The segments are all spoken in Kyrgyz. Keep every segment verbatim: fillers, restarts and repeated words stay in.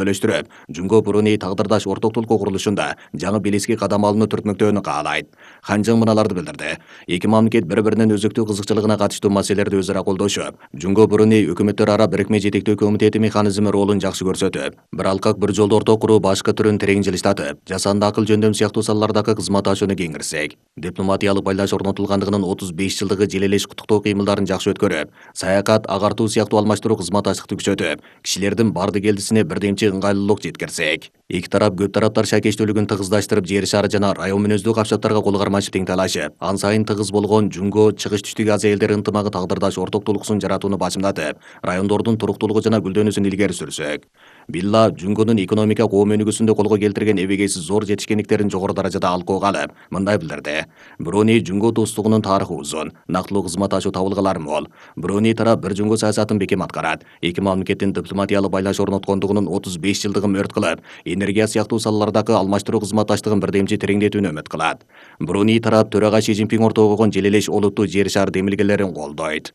бөлөштүрүп, Жунго Бруни тагдырдаш ортоктулук курулушунда жаңы белески кадам алууну түртмөктөөнү каалайт. Хан Чжың мыналарды билдирди. Эки мамлекет бири-биринин өзүктүү кызыкчылыгына катыштуу маселелерди өзара колдошуп, Жунго Бруни өкмөттөр ара бирикме жетектөө комитети механизми ролун жакшы көрсөтүп, бир алкак бир жолду орток куруу башкы түрүн терең жылыштатып, жасанды акыл жөндөм сыяктуу салалардагы кызматташууну кеңирсек, дипломатиялык байланыш орнотулгандыгынын отуз беш жылдыгы желелеш куттуктоо кыймылдарын жакшы өткөрүп, саякат, агартуу сыяктуу алмаштыруу кызматташтыкты күчөтүп, кишилердин барды келдисине бирдемчи ыңгайлуулук жеткирсек, эки тарап көп тараптар шакештүүлүгүн тыгыздаштырып, жер шары жана район мүнөздүү капчаттарга кол кармашып тең талашып, ан сайын тыгыз болгон Жунго Чыгыш Түштүк Азия элдери ынтымагы тагдырдаш ортоктулуксун жаратууну башымдатып, райондордун туруктуулугу жана гүлдөнүүсүн илгери сүрсөк, Билла Жунгонун экономика коом өнүгүүсүндө колго келтирген эбегейсиз зор жетишкендиктерин жогору даражада алкоого алып, мындай билдирди. Бруни Жунго достугунун тарыхы узун, нактылуу кызматташуу табылгалары мол. Бруни тарап бир Жунго саясатын бекем аткарат. Эки мамлекеттин дипломатиялык байланыш орноткондугунун отуз беш жылдыгын мөрт кылып, энергия сыяктуу салалардагы алмаштыруу кызматташтыгын бирдемчи тереңдетүүнү үмүт кылат. Бруни тарап төрага Си Цзиньпин ортого койгон желелеш олуттуу жер шары демилгелерин колдойт.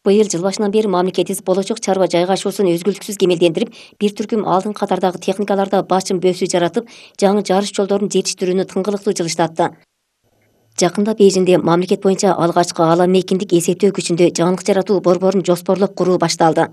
Быйыл жыл башынан бери мамлекетибиз болочок чарба жайгашуусун өзгөлтүксүз кемелдендирип, бир түркүм алдыңкы катардагы техникаларда башым бөөсү жаратып, жаңы жарыш жолдорун жетиштирүүнү тыңгылыктуу жылыштатты. Жакында Бейжиңде мамлекет боюнча алгачкы аала мейкиндик эсептөө күчүндө жаңылык жаратуу борборун жоспорлоп куруу башталды.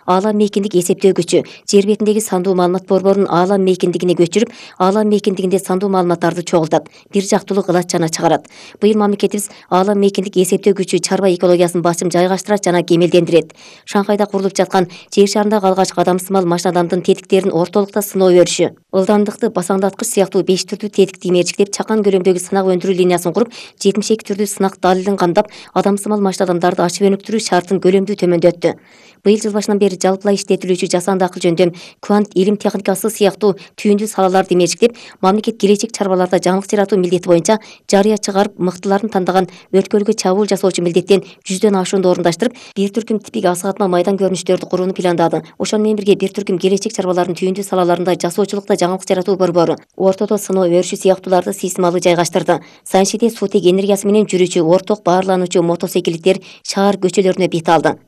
Аала мейкиндик эсептөө күчү жер бетиндеги сандуу маалымат борборун аала мейкиндигине көчүрүп, аала мейкиндигинде сандуу маалыматтарды чогултат, бир жактуулук ылач жана чыгарат. Быйыл мамлекетибиз аала мейкиндик эсептөө күчү чарба экологиясын басым жайгаштырат жана кемелдендирет. Шанхайда курулуп жаткан жер шарындагы алгачкы адамсымал машинадамдын тетиктерин ортолукта сыноо өрүшү, ылдамдыкты басаңдаткыч сыяктуу беш түрдүү тетикти имерчиктеп, чакан көлөмдөгү сынак өндүрүү линиясын куруп, жетимиш эки түрдүү сынак далилин камдап, адамсымал машинадамдарды ачып өнүктүрүү шартын көлөмдүү төмөндөттү. Быйыл жыл башынан бери жалпылай иштетилүүчү жасанды акыл жөндөм, квант илим техникасы сыяктуу түйүндүү салаларды имерчиктеп, мамлекет келечек чарбаларда жаңылык жаратуу милдети боюнча жарыя чыгарып, мыктыларын тандаган өткөлгө чабуул жасоочу милдеттен жүздөн ашуунду орундаштырып, бир түркүм типик асыгатма майдан көрүнүштөрдү курууну пландады. Ошону менен бирге бир түркүм келечек чарбалардын түйүндүү салаларында жасоочулукта жаңылык жаратуу борбору, ортодо сыноо өрүшү сыяктууларды системалуу жайгаштырды. Саншиде суутек энергиясы менен жүрүүчү орток баарлануучу мотоциклиттер шаар көчөлөрүнө бет алды.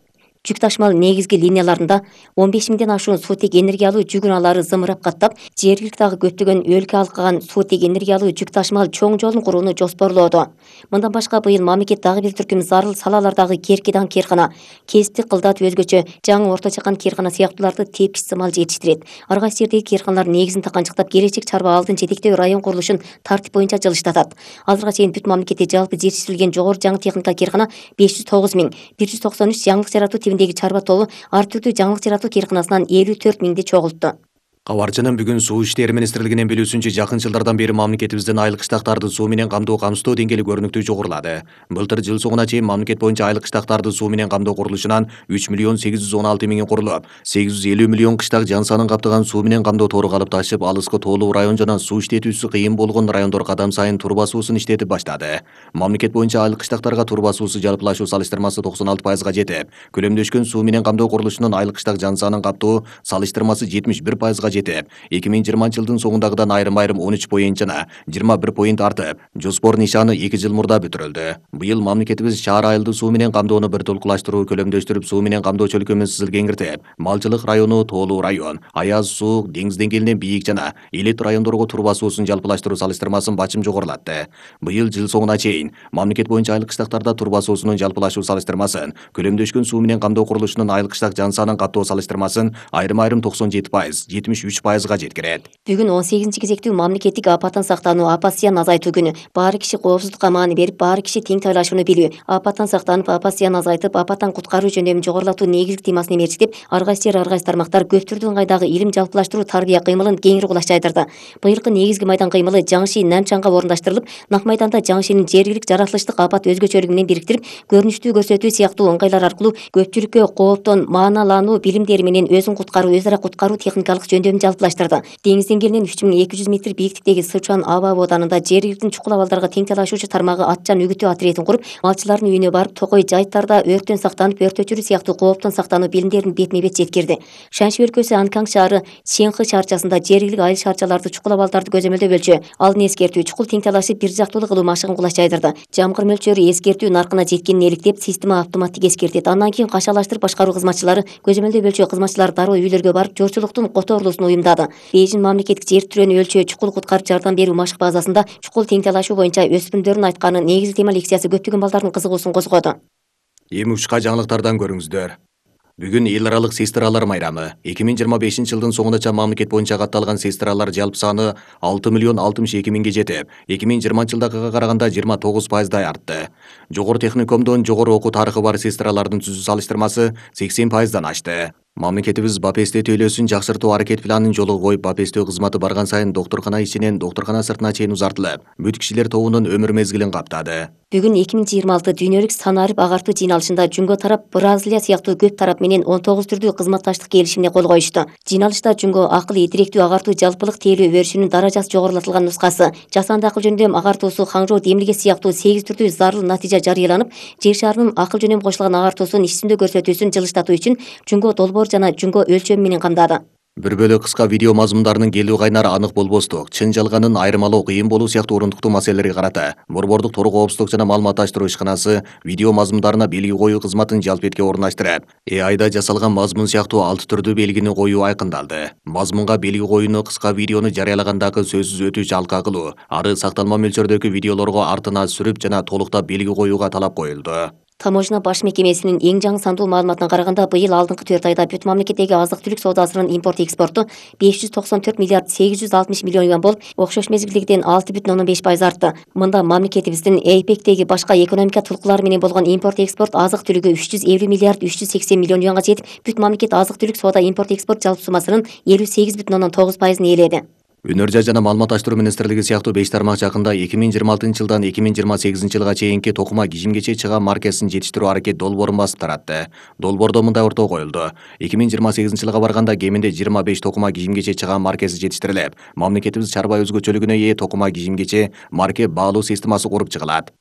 Жүк ташмал негизги линияларында он беш миңден ашуун суутек энергиялуу жүк унаалары зымырап каттап, жергиликтагы көптөгөн өлкө алкаган суутек энергиялуу жүк ташмал чоң жолун курууну жоспорлоодо. Мындан башка быйыл мамлекет дагы бир түркүм зарыл салалардагы Керкидан керкана, кесиптик кылдатып өзгөчө жаңы орто чакан керкана сыяктууларды тепкич сымал жетиштирет. Ар кайсы жердеги керканалар негизин таканчыктап, келечек чарба алдын жетектөө район курулушун тартип боюнча жылыштатат. Азырга чейин бүт мамлекетте жалпы жетиштирилген жогору жаңы техника керкана беш жүз тогуз миң, бир жүз токсон үч жаңылык жаратуу тибиндеги чарба тобу ар түрдүү жаңылык жаратуу керканасынан элүү төрт миңди чогултту. Кабарчынын бүгүн Суу иштери министрлигинин билүүсүнчө, жакын жылдардан бери мамлекетибиздин айлык кыштактарды суу менен камдоо камсыздоо деңгээли көрүнүктүү жогорулады. Былтыр жыл соңуна чейин мамлекет боюнча айлык кыштактарды суу менен камдоо курулушунан үч миллион сегиз жүз он алты миңи курулуп, сегиз жүз элүү миллион кыштак жан санын каптаган суу менен камдоо тору калып ташып, алыскы тоолуу район жана суу иштетүүсү кыйын болгон райондор кадам сайын турба суусун иштетип баштады. Мамлекет боюнча айлык кыштактарга турба суусу жалпылашуу салыштырмасы токсон алты пайызга жетип, көлөмдөшкөн суу менен камдоо курулушунун айлык кыштак жан санын каптоо салыштырмасы жетимиш бир пайызга жетип, эки миң жыйырманчы жылдын соңундагыдан айрым-айрым он үч поинт жана жыйырма бир поинт артып, жоспор нишаны эки жыл мурда бүтүрүлдү. Быйыл мамлекетибиз шаар айылды суу менен камдоону бир толкулаштыруу, көлөмдөштүрүп, суу менен камдоо чөлкөмүн сызыл кеңиртип, малчылык району, тоолуу район, аяз суу, деңиз деңгээлинен бийик жана элит райондорго турба суусун жалпылаштыруу салыштырмасын бачым жогорулатты. Быйыл жыл соңуна чейин мамлекет боюнча айлык кыштактарда турба суусунун жалпылашуу салыштырмасын, көлөмдөшкөн суу менен камдоо курулушунун айлык кыштак жан санын каттоо салыштырмасын айрым-айрым токсон жети пайыз, жетимиш үч пайызга жеткирет. Бүгүн он сегизинчи кезектүү мамлекеттик апаттан сактануу, апат зыян азайтуу күнү. Баары киши коопсуздукка маани берип, баары киши тең тайлашууну билүү, апаттан сактанып, апат зыян азайтып, апаттан куткаруу жөндөмүн жогорулатуу негизги темасын имерчиктеп, ар кайсы жер, ар кайсы тармактар көп түрдүү ыңгайдагы илим жалпылаштыруу, тарбия кыймылын кеңири кулаш жайдырды. Быйылкы негизги майдан кыймылы Жаңши Намчанга орундаштырылып, нак майданда Жаңшинин жергилик жаратылыштык апат өзгөчөлүгү менен бириктирип, көрүнүштүү көрсөтүү сыяктуу ыңгайлар аркылуу көпчүлүккө кооптон мааналануу билимдери менен өзүн куткаруу, өз ара куткаруу техникалык жөндөмүн жөндөмүн жалпылаштырды. Деңиз деңгээлинен үч миң эки жүз метр бийиктиктеги Сычуан аба абаданында жергиликтүү чукул абалдарга тең талашуучу тармагы атчан үгүтүү отрядын куруп, малчылардын үйүнө барып, токой жайыттарда өрттөн сактанып, өрт өчүрүү сыяктуу кооптон сактануу билимдерин бетме-бет жеткирди. Шаньши өлкөсү Анкан шаары Ченхы шаарчасында жергиликтүү айыл шаарчаларды чукул абалдарды көзөмөлдөө бөлчү алдын эскертүү чукул тең талашып бир жактуулуу кылуу машыгын кулаш жайдырды. Жамгыр мөлчөрү эскертүү наркына жеткенин эликтеп, система автоматтык эскертет. Андан кийин кашалаштырып башкаруу кызматчылары көзөмөлдөө бөлчү кызматчылары дароо үйлөргө барып, жоочулуктун которулуусун уюмдады. Бейжин мамлекеттик жер түрөнү өлчөө чукул куткарып жардам берүү машык базасында чукул тең талашуу боюнча өспүрүмдөрдүн айтканы негизги тема лекциясы көптөгөн балдардын кызыгуусун козгоду. Эми учка жаңылыктардан көрүңүздөр. Бүгүн эл аралык сестралар майрамы. эки миң жыйырма бешинчи жылдын соңуна мамлекет боюнча катталган сестралар жалпы саны алты миллион алтымыш эки миңге жетип, эки миң жыйырманчы жылдагыга караганда жыйырма тогуз пайыздай артты. Жогору техникумдон жогору окуу тарыхы бар сестралардын түзүү салыштырмасы сексен пайыздан ашты. Мамлекетибиз БАПСТ төлөөсүн жакшыртуу аракет планын жолго коюп, БАПСТ кызматы барган сайын доктуркана ичинен доктуркана сыртына чейин узартылып, бүт кишилер тобунун өмүр мезгилин каптады. Бүгүн эки миң жыйырма алты дүйнөлүк санарип агартуу жыйналышында Жунго тарап Бразилия сыяктуу көп тарап менен он тогуз түрдүү кызматташтык келишимине кол коюшту. Жыйналышта Жунго акыл идиректүү агартуу жалпылык тейлөө өрүшүнүн даражасы жогорулатылган нускасы, жасанды акыл жөндөм агартуусу, хаңжоо демилге сыяктуу сегиз түрдүү зарыл натыйжа жарыяланып, жер шарынын акыл жөнөм кошулган агартуусун иш жүзүндө көрсөтүүсүн жылыштатуу үчүн Жунго долбоор жана Жунго өлчөмү менен камдады. Бир бөлө кыска видео мазмундарынын келүү кайнары анык болбостук, чын жалганын айырмалоо кыйын болуу сыяктуу орундуктуу маселелерге карата Борбордук Тор коопсуздук жана маалыматташтыруу ишканасы видео мазмундарына белги коюу кызматын жалпетке орундаштырып, э айда жасалган мазмун сыяктуу алты түрдүү белгини коюу айкындалды. Мазмунга белги коюуну кыска видеону жарыялагандагы сөзсүз өтүүчү алка кылуу, ары сакталма мөлчөрдөгү видеолорго артына сүрүп жана толуктап белги коюуга талап коюлду. Таможня баш мекемесинин эң жаңы сандуу маалыматына караганда, быйыл алдыңкы төрт айда бүт мамлекеттеги азык-түлүк соодасынын импорт экспорту беш жүз токсон төрт миллиард сегиз жүз алтымыш миллион юан болуп, окшош мезгилдегиден алты бүтүн ондон беш пайыз артты. Мында мамлекетибиздин эйпектеги башка экономика тулкулары менен болгон импорт экспорт азык-түлүгү үч жүз элүү миллиард үч жүз сексен миллион юанга жетип, бүт мамлекет азык-түлүк соода импорт экспорт жалпы суммасынын элүү сегиз бүтүн ондон тогуз пайызын ээледи. Өнөр жай жана маалыматташтыруу министрлиги сыяктуу беш тармак жакында эки миң жыйырма алтынчы жылдан эки миң жыйырма сегизинчи жылга чейинки токума кижимгече чыга маркасынын жетиштирүү аракет долбоорун басып таратты. Долбоордо мындай ортоо коюлду: эки миң жыйырма сегизинчи жылга барганда кеминде жыйырма беш токума кижимгече чыга маркасы жетиштирилип, мамлекетибиз чарба өзгөчөлүгүнө ээ токума кижимгече марке баалуу системасы куруп чыгылат.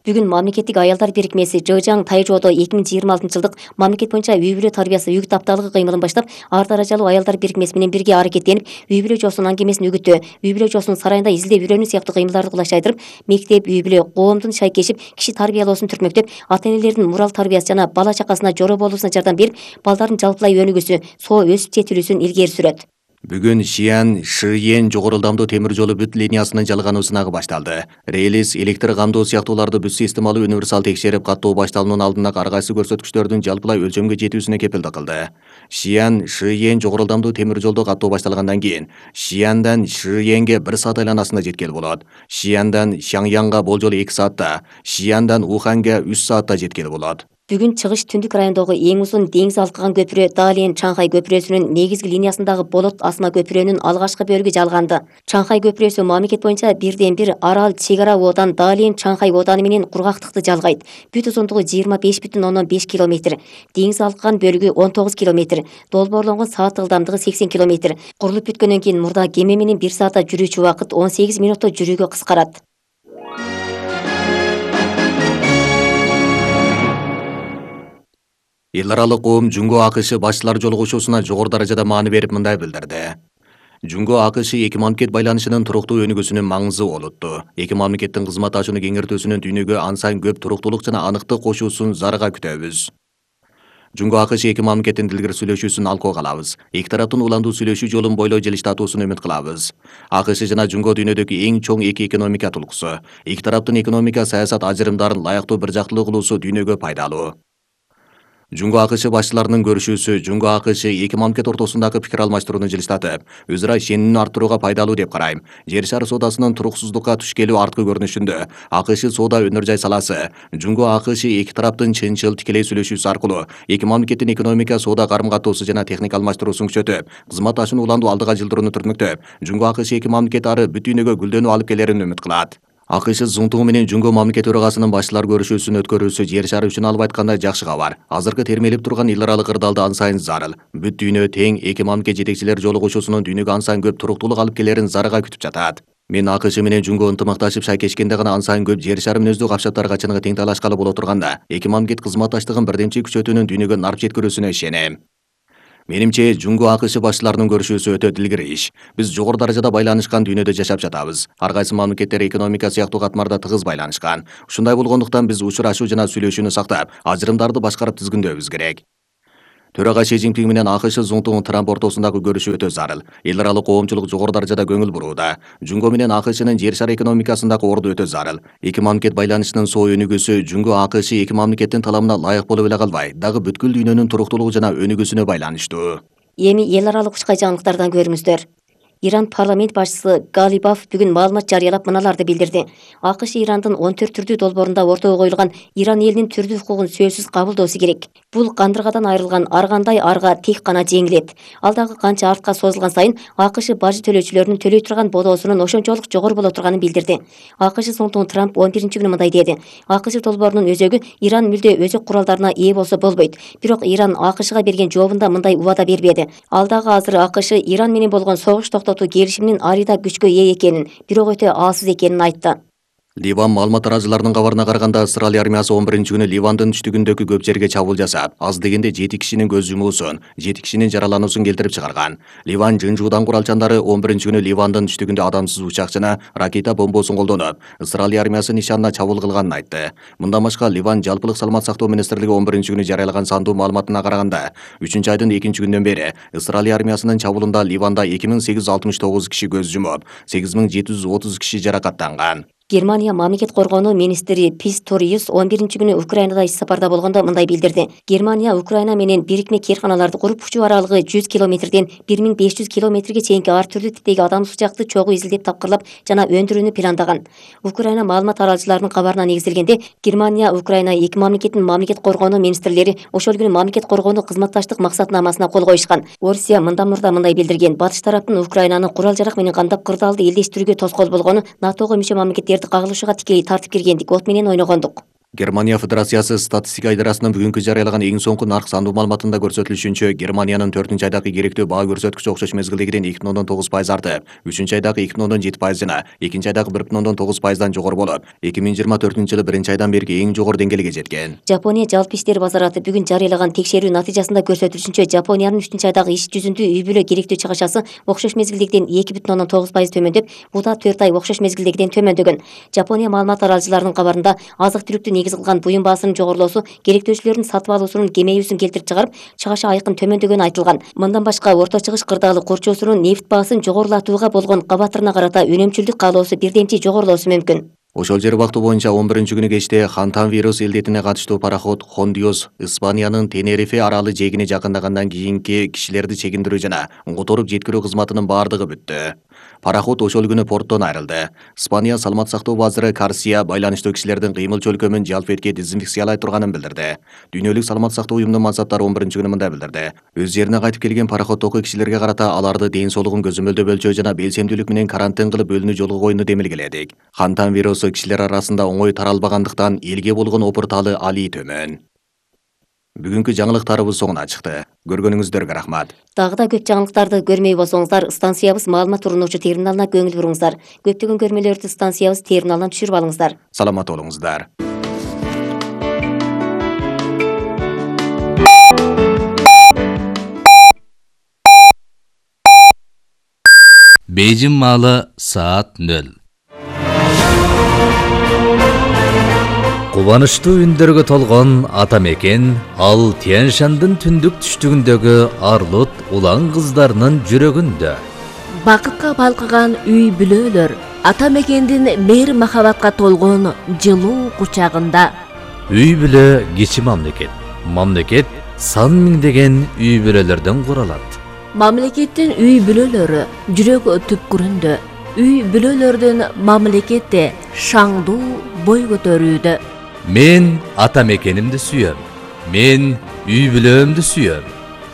Бүгүн мамлекеттик аялдар бирикмеси Жыжаң Тайжоодо эки миң жыйырма алтынчы жылдык мамлекет боюнча үй бүлө тарбиясы үгүт апталыгы кыймылын баштап, ар даражалуу аялдар бирикмеси менен бирге аракеттенип, үй бүлө жоосунун аңгемесин үгүттөө, үй бүлө жоосунун сарайында изилдеп үйрөнүү сыяктуу кыймылдарды кулаш жайдырып, мектеп, үй бүлө, коомдун шайкешип, киши тарбиялоосун түртмөктөп, ата-энелердин мурал тарбиясы жана бала чакасына жора болуусуна жардам берип, балдардын жалпылай өнүгүүсү, соо өсүп жетилүүсүн илгери сүрөт. Бүгүн Шиян Шиен жогору ылдамдуу темир жолу бүт линиясынын жалгануу сынагы башталды. Релиз, электр камдоо сыяктууларды бүт системалуу универсал текшерип, каттоо башталуунун алдында ар кайсы көрсөткүчтөрдүн жалпылай өлчөмгө жетүүсүнө кепилдик кылды. Шиян Шиен жогору ылдамдуу темир жолду каттоо башталгандан кийин Шияндан Шиенге бир саат айланасында жеткел болот. Шияндан Шаңянга болжол эки саатта, Шияндан Уханга үч саатта жеткел болот. Бүгүн чыгыш түндүк райондогу эң узун деңиз алкыган көпүрө Далиен Чаңхай көпүрөсүнүн негизги линиясындагы Болот асма көпүрөнүн алгачкы бөлүгү жалганды. Чаңхай көпүрөсү мамлекет боюнча бирден бир арал чек ара оодан Далиен Чаңхай ооданы менен кургактыкты жалгайт. Бүт узундугу жыйырма беш бүтүн ондон беш километр. Деңиз алкыган бөлүгү он тогуз километр. Долбоорлонгон саат ылдамдыгы сексен километр. Курулуп бүткөндөн кийин мурда кеме менен бир саатта жүрүүчү убакыт он сегиз минутта жүрүүгө кыскарат. Эл аралык коом Жунго АКШ башчылар жолугушуусуна жогору даражада маани берип мындай билдирди. Жунго АКШ эки мамлекет байланышынын туруктуу өнүгүүсүнүн маңызы олутту. Эки мамлекеттин кызматташууну кеңейтүүсүнүн дүйнөгө ан сайын көп туруктуулук жана аныктык кошуусун зарыга күтөбүз. Жунго АКШ эки мамлекеттин дилгир сүйлөшүүсүн алкоо калабыз. Эки тараптын уландуу сүйлөшүү жолун бойлой жылыштатуусун үмүт кылабыз. АКШ жана Жунго дүйнөдөгү эң чоң эки экономика тулкусу. Эки тараптын экономика саясат ажырымдарын ылайыктуу бир жактылуу кылуусу дүйнөгө пайдалуу. Жунго АКШ башчыларынын көрүшүүсү Жунго АКШ эки мамлекет ортосундагы пикир алмаштырууну жылыштатып, өз ара ишенимин арттырууга пайдалуу деп карайм. Жер шары соодасынын туруксуздукка туш келүү арткы көрүнүшүндө АКШ соода өнөр жай саласы, Жунго АКШ эки тараптын чынчыл тикелей сүйлөшүүсү аркылуу эки мамлекеттин экономика, соода карым-катоосу жана техника алмаштыруусун күчөтүп, кызматташууну уландуу алдыга жылдырууну түртмөктөп, Жунго АКШ эки мамлекет ары бүт дүйнөгө гүлдөнүү алып келерин үмүт кылат. АКШ Зунтугу менен Жуңго мамлекет төрагасынын башчылар көрүшүүсүн өткөрүүсү жер шары үчүн алып айтканда жакшы кабар. Азыркы термелип турган эл аралык ырдалды ан сайын зарыл. Бүт дүйнө тең эки мамлекет жетекчилер жолугушуусунун дүйнөгө ан сайын көп туруктуулук алып келерин зарыга күтүп жатат. Мен АКШ менен Жуңго ынтымакташып шайкешкенде гана ан сайын көп жер шары мүнөздүү капчаттарга чыныгы тең талашкалы боло турганда, эки мамлекет кызматташтыгын бирдемчи күчөтүүнүн дүйнөгө нарп жеткирүүсүнө ишенем. Менимче Жуңго АКШ башчыларынын көрүшүүсү өтө дилгири иш. Биз жогору даражада байланышкан дүйнөдө жашап жатабыз. Ар кайсы мамлекеттер экономика сыяктуу катмарда тыгыз байланышкан. Ушундай болгондуктан биз учурашуу жана сүйлөшүүнү сактап, ажырымдарды башкарып тизгиндөөбүз керек. Төрага Си Цзиньпин менен АКШ Зунтугун Трамп ортосундагы көрүшүү өтө зарыл. Эл аралык коомчулук жогору даражада көңүл бурууда. Жуңго менен АКШнын жер шары экономикасындагы орду өтө зарыл. Эки мамлекет байланышынын соо өнүгүүсү Жуңго АКШ эки мамлекеттин таламына ылайык болуп эле калбай, дагы бүткүл дүйнөнүн туруктуулугу жана өнүгүүсүнө байланыштуу. Эми эл аралык учкай жаңылыктардан көрүңүздөр. Иран парламент башчысы Галибаф бүгүн маалымат жарыялап мыналарды билдирди. АКШ Ирандын он төрт түрдүү долбоорунда ортого коюлган Иран элинин түрдүү укугун сөзсүз кабылдоосу керек. Бул кандыргадан айрылган ар кандай арга тек гана жеңилет. Ал дагы канча артка созулган сайын АКШ бажы төлөөчүлөрүнүн төлөй турган бодоосунун ошончолук жогору боло турганын билдирди. АКШ Зунтугун Трамп он биринчи күнү мындай деди. АКШ долбоорунун өзөгү Иран мүлдө өзөк куралдарына ээ болсо болбойт. Бирок Иран АКШга берген жообунда мындай убада бербеди. Ал дагы азыр АКШ Иран менен болгон согуш токтотуу келишиминин арида күчкө ээ экенин, бирок өтө аалсыз экенин айтты. Ливан маалымат тараазыларынын кабарына караганда, Исраил армиясы он биринчи күнү Ливандын түштүгүндөгү көп жерге чабуул жасап, аз дегенде жети кишинин көз жумуусун, жети кишинин жаралануусун келтирип чыгарган. Ливан жын-жуудан куралчандары он биринчи күнү Ливандын түштүгүндө адамсыз учак жана ракета бомбосун колдонуп, Исраил армиясы нишанына чабуул кылганын айтты. Мындан башка Ливан жалпылык саламат сактоо министрлиги он биринчи күнү жарыялаган сандуу маалыматына караганда, үчүнчү айдын экинчи күнүнөн бери Исраил армиясынын чабуулунда Ливанда эки миң сегиз жүз алтымыш тогуз киши көз жумуп, сегиз миң жети жүз отуз киши жаракаттанган. Германия мамлекет коргонуу министри Писториус он биринчи күнү Украинада иш сапарда болгондо мындай билдирди. Германия Украина менен бирикме керканаларды куруп, учуу аралыгы жүз километрден бир миң беш жүз километрге чейинки ар түрдүү типтеги адамсыз учакты чогуу изилдеп тапкырлап жана өндүрүүнү пландаган. Украина маалымат тараачыларынын кабарына негизделгенде, Германия Украина эки мамлекеттин мамлекет коргонуу министрлери ошол күнү мамлекет коргонуу кызматташтык максатнамасына кол коюшкан. Орусия мындан мурда мындай билдирген: батыш тараптын Украинаны курал жарак менен кандап кырдаалды элдештирүүгө тоскоол болгону, НАТОго мүчө мамлекеттерди кагылышууга тикелей тартып киргендик, от менен ойногондук. Германия Федерациясы статистика идарасынын бүгүнкү жарыялаган эң соңку нарк сандуу маалыматында көрсөтүлүшүнчө, Германиянын төртүнчү айдагы керектүү баа көрсөткүчү окшош мезгилдегиден эки бүтүн ондон тогуз пайыз артып, үчүнчү айдагы эки бүтүн ондон жети пайыз жана экинчи айдагы бир бүтүн ондон тогуз пайыздан жогору болуп, эки миң жыйырма төртүнчү жылы биринчи айдан берки эң жогору деңгээлге жеткен. Жапония жалпы иштер базараты бүгүн жарыялаган текшерүү натыйжасында көрсөтүлүшүнчө, Жапониянын үчүнчү айдагы иш жүзүндө үй бүлө керектүү чыгышасы окшош мезгилдегиден эки бүтүн ондон тогуз пайыз төмөндөп, бул да төрт ай окшош мезгилдегиден төмөндөгөн. Жапония маалымат тараачыларынын кабарында, азык-түлүктү негиз кылган буюм баасынын жогорулоосу керектөөчүлөрдүн сатып алуусунун кемейүүсүн келтирип чыгарып, чыгашы айкын төмөндөгөнү айтылган. Мындан башка Орто Чыгыш кырдаалы курчоосунун нефть баасын жогорулатууга болгон кабатырына карата үнөмчүлдүк каалоосу бирдемчи жогорулоосу мүмкүн. Ошол жер убакыты боюнча он биринчи күнү кечте Хантан вирус илдетине катыштуу пароход Хондиос Испаниянын Тенерифе аралы жээгине жакындагандан кийинки кишилерди чегиндирүү жана которуп жеткирүү кызматынын баардыгы бүттү. Пароход ошол күнү порттон айрылды. Испания саламат сактоо базары Карсия байланыштуу кишилердин кыймыл чөлкөмүн жалпы этке дезинфекциялай турганын билдирди. Дүйнөлүк саламат сактоо уюмунун мансаптары он биринчи күнү мындай билдирди. Өз жерине кайтып келген пароходдогу кишилерге карата аларды ден соолугун көзөмөлдөө өлчөө жана белсемдүүлүк менен карантин кылып өлүнүү жолго коюуну демилгеледик. Хантан вирусу кишилер арасында оңой таралбагандыктан элге болгон опурталы алий төмөн. Бүгүнкү жаңылыктарыбыз соңуна чыкты. Көргөнүңүздөргө рахмат. Дагы да көп жаңылыктарды көрмөй болсоңуздар, станциябыз маалымат турунуучу терминалына көңүл буруңуздар. Көптөгөн көрмөлөрдү станциябыз терминалынан түшүрүп алыңыздар. Саламат болуңуздар. Бейжин маалы саат нөл. Кубанычтуу үндөргө толгон ата мекен, ал Тянь-Шандын түндүк түштүгүндөгү Арлут улан кыздарынын жүрөгүндө. Бакытка балкыган үй бүлөлөр, ата мекендин мээр махабатка толгон жылуу кучагында. Үй бүлө кичи мамлекет. Мамлекет сан миңдеген үй бүлөлөрдөн куралат. Мамлекеттин үй бүлөлөрү жүрөк түпкүрүндө. Үй бүлөлөрдүн мамлекетте шаңдуу бой көтөрүүдө. Мен ата мекенимди сүйөм. Мен үй бүлөмдү сүйөм.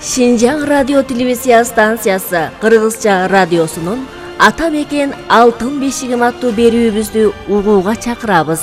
Шинжаң радио телевизия станциясы Кыргызча радиосунун ата мекен алтын бешигим аттуу берүүбүздү угууга чакырабыз.